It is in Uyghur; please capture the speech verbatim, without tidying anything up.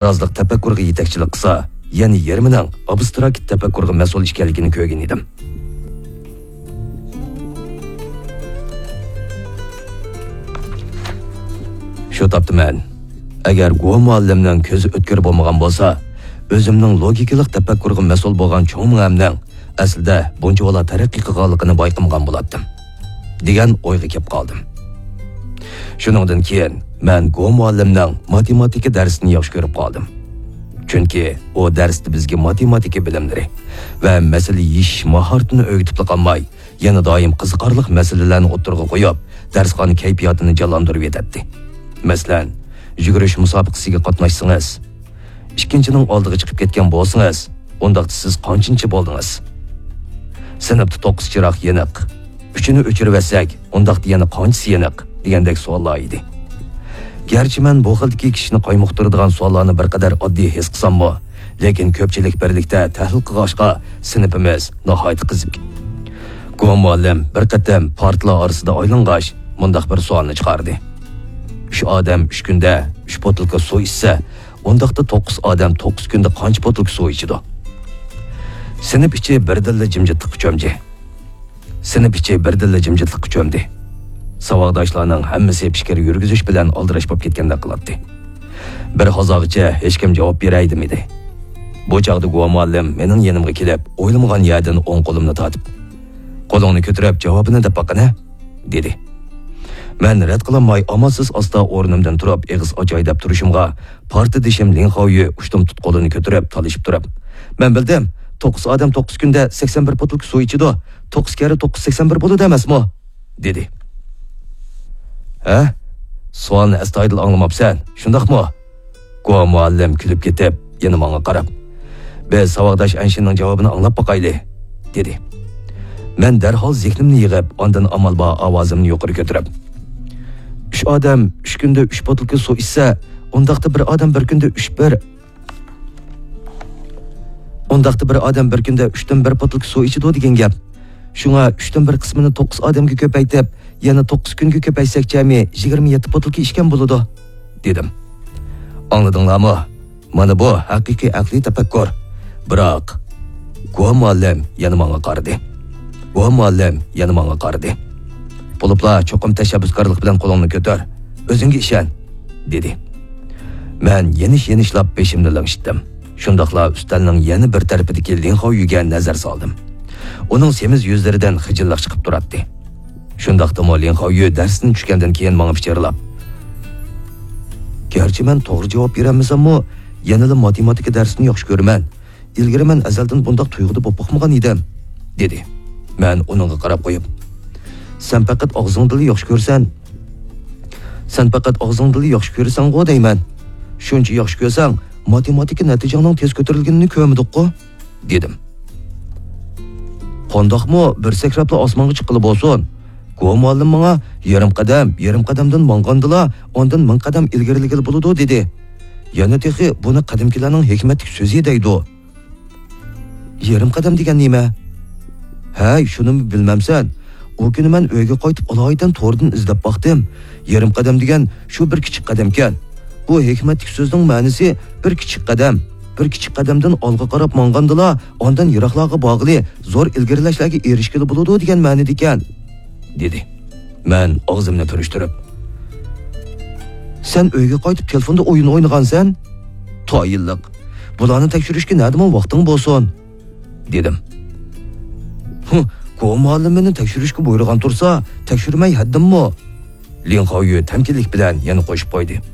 ئوبرازلىق تەپەككۇرغا يېتەكچىلىك قىلسا، يەنە يېرىمىنىڭ ئابستراكت تەپەككۇرغا مەسئۇل ئىكەنلىكىنى كۆرگەن ئىدىم. شۇ تاپتا مەن، ئەگەر گۇۋا مۇئەللىمنىڭ كۆزى ئۆتكۈر بولمىغان بولسا، ئۆزۈمنىڭ لوگىكىلىق تەپەككۇرغا مەسئۇل بولغان چوڭ مېڭەمنىڭ ئەسلىدە بۇنچىۋالا تەرەققىي قىلغانلىقىنى بايقىمىغان بولاتتىم، دېگەن ئويغا كېلىپ قالدىم. شۇنىڭدىن كېيىن مەن گۇۋا مۇئەللىمنىڭ ماتېماتىكا دەرسىنى ياخشى كۆرۈپ قالدىم. چۈنكى ئۇ دەرستە بىزگە ماتېماتىكا بىلىملىرى ۋە مەسىلە يېشىش ماھارىتىنى ئۆگىتىپلا قالماي، يەنە دائىم قىزىقارلىق مەسىلىلەرنى ئوتتۇرىغا قويۇپ، دەرسخانا كەيپىياتىنى جانلاندۇرۇۋېتەتتى. مەسىلەن، يۈگۈرۈش مۇسابىقىسىگە قاتناشسىڭىز، ئىككىنچىنىڭ ئالدىغا چىقىپ كەتكەن بولسىڭىز، ئۇنداقتا سىز قانچىنچى بولدىڭىز؟ سىنىپتا توققۇز چىراغ يېنىق. ئۈچىنى ئۆچۈرۈۋەتسەك، ئۇنداقتا يەنە قانچىسى يېنىق؟ دېگەندەك سوئاللار ئىدى. گەرچە مەن بۇ خىلدىكى كىشىنى قايمۇقتۇرىدىغان سوئاللارنى بىر قەدەر ئاددىي ھېس قىلساممۇ، لېكىن كۆپچىلىك بىرلىكتە تەھلىل قىلغاچقا، سىنىپىمىز ناھايىتى قىزىپ كەتتى. گۇۋا مۇئەللىم بىر قېتىم پارتىلار ئارىسىدا ئايلانغاچ، مۇنداق بىر سوئالنى چىقاردى: «ئۈچ ئادەم ئۈچ كۈندە ئۈچ بوتۇلكا سۇ ئىچسە، ئۇنداقتا توققۇز ئادەم توققۇز كۈندە قانچە بوتۇلكا سۇ ئىچىدۇ؟» سىنىپ ئىچى بىردىنلا جىمجىتلىققا چۆمدى. سىنىپ ئىچى بىردىنلا جىمجىتلىققا چۆمدى. ساۋاقداشلارنىڭ ھەممىسى پىكىر يۈرگۈزۈش بىلەن ئالدىراش بولۇپ كەتكەندەك قىلاتتى. بىر ھازاغىچە ھېچكىم جاۋاب بېرەي دېمىدى. بۇ چاغدا گۇۋا مۇئەللىم مېنىڭ يېنىمغا كېلىپ، ئويلىمىغان يەردىن ئوڭ قولۇمنى تارتىپ، «قولۇڭنى كۆتۈرۈپ، جاۋابىنى دەپ باققىنە» دېدى. مەن رەت قىلالماي ئامالسىز ئاستا ئورنۇمدىن تۇرۇپ ئېغىز ئاچاي دەپ تۇرۇشۇمغا، پارتىدىشىم لىن خاۋيۈ ئۇشتۇمتۇت قولىنى كۆتۈرۈپ تالىشىپ تۇرۇپ، «مەن بىلدىم، توققۇز ئادەم توققۇز كۈندە سەكسەن بىر بوتۇلكا سۇ ئىچىدۇ، توققۇز كەررە توققۇز سەكسەن بىر بولىدۇ ئەمەسمۇ؟» دېدى. «ھە؟ سوئالنى ئەستايىدىل ئاڭلىماپسەن، شۇنداقمۇ؟» گۇۋا مۇئەللىم كۈلۈپ كېتىپ، يەنە ماڭا قاراپ، «بىز ساۋاقداش ئەنشىننىڭ جاۋابىنى ئاڭلاپ باقايلى» دېدى. مەن دەرھال زېھنىمنى يىغىپ، ئاندىن ئامال بار ئاۋازىمنى يۇقىرى كۆتۈرۈپ، «ئۈچ ئادەم ئۈچ كۈندە ئۈچ بوتۇلكا سۇ ئىچسە، ئۇنداقتا بىر ئادەم بىر كۈندە ئۈچ بىر، ئۇنداقتا بىر ئادەم بىر كۈندە ئۈچتىن بىر بوتۇلكا سۇ ئىچىدۇ دېگەن گەپ. شۇڭا ئۈچتىن بىر قىسمىنى توققۇز ئادەمگە كۆپەيتىپ، يەنە توققۇز كۈنگە كۆپەيتسەك جەمئىي يىگىرمە يەتتە بوتۇلكا ئىچكەن بولىدۇ» دېدىم. «ئاڭلىدىڭلارمۇ؟ مانا بۇ ھەقىقىي ئەقلىي تەپەككۇر. بىراق...» گۇۋا مۇئەللىم يەنە ماڭا قارىدى. گۇۋا مۇئەللىم يەنە ماڭا قارىدى. «بولۇپلا چوقۇم تەشەببۇسكارلىق بىلەن قولۇڭنى كۆتۈر. ئۆزۈڭگە ئىشەن» دېدى. مەن يېنىش-يېنىشلاپ بېشىمنى لىڭشىتتىم. شۇنداقلا ئۈستەلنىڭ يەنە بىر تەرىپىدىكى لىن خاۋيۈگە نەزەر سالدىم. ئۇنىڭ سېمىز يۈزلىرىدىن خىجىللىق چىقىپ تۇراتتى. شۇنداقتىمۇ لىن خاۋيۈ دەرستىن چۈشكەندىن كېيىن ماڭا پىچىرلاپ، «گەرچە مەن توغرا جاۋاب بېرەلمىسەممۇ، يەنىلا ماتېماتىكا دەرسىنى ياخشى كۆرىمەن. ئىلگىرى مەن ئەزەلدىن بۇنداق تۇيغۇدا بولۇپ باقمىغان ئىدىم» دېدى. مەن ئۇنىڭغا قاراپ قويۇپ، «سەن پەقەت ئاغزىڭدىلا ياخشى كۆرىسەن. سەن پەقەت ئاغزىڭدىلا ياخشى كۆرىسەنغۇ دەيمەن. شۇنچە ياخشى كۆرسەڭ، ماتېماتىكا نەتىجەڭنىڭ تېز كۆتۈرۈلگىنىنى كۆرمىدۇققۇ؟» دېدىم. «قانداقمۇ بىر سەكرەپلا ئاسمانغا چىققىلى بولسۇن؟ گۇۋا مۇئەللىم ماڭا يېرىم قەدەم، يېرىم قەدەمدىن ماڭغاندىلا، ئاندىن مىڭ قەدەم ئىلگىرىلىگىلى بولىدۇ» دېدى. يەنە تېخى بۇنى قەدىمكىلەرنىڭ ھېكمەتلىك سۆزى دەيدۇ. يېرىم قەدەم دېگەن نېمە؟ ھەي، شۇنىمۇ بىلمەمسەن؟ ئۇ كۈنى مەن ئۆيگە قايتىپ ئالايىتەن توردىن ئىزدەپ باقتىم. يېرىم قەدەم دېگەن شۇ بىر كىچىك قەدەمكەن. بۇ ھېكمەتلىك سۆزنىڭ مەنىسى بىر كىچىك قەدەم. بىر كىچىك قەدەمدىن ئالغا قاراپ ماڭغاندىلا، ئاندىن يىراقلارغا بارغىلى، زور ئىلگىرىلەشلەرگە ئېرىشكىلى بولىدۇ دېگەن مەنىدىكەن، دېدى. مەن ئاغزىمنى پۈرۈشتۈرۈپ، سەن ئۆيگە قايتىپ تېلېفوندا ئويۇن ئوينىغانسەن؟ تايىنلىق. بۇلارنى تەكشۈرۈشكە نەدىمۇ ۋاقتىڭ بولسۇن؟ دېدىم. ھۇ، گۇۋا مۇئەللىم مېنى تەكشۈرۈشكە بۇيرۇغان تۇرسا، تەكشۈرمەي ھەددىممۇ؟ لىن خاۋيۈ تەمكىنلىك بىلەن يەنە قوشۇپ قويدى.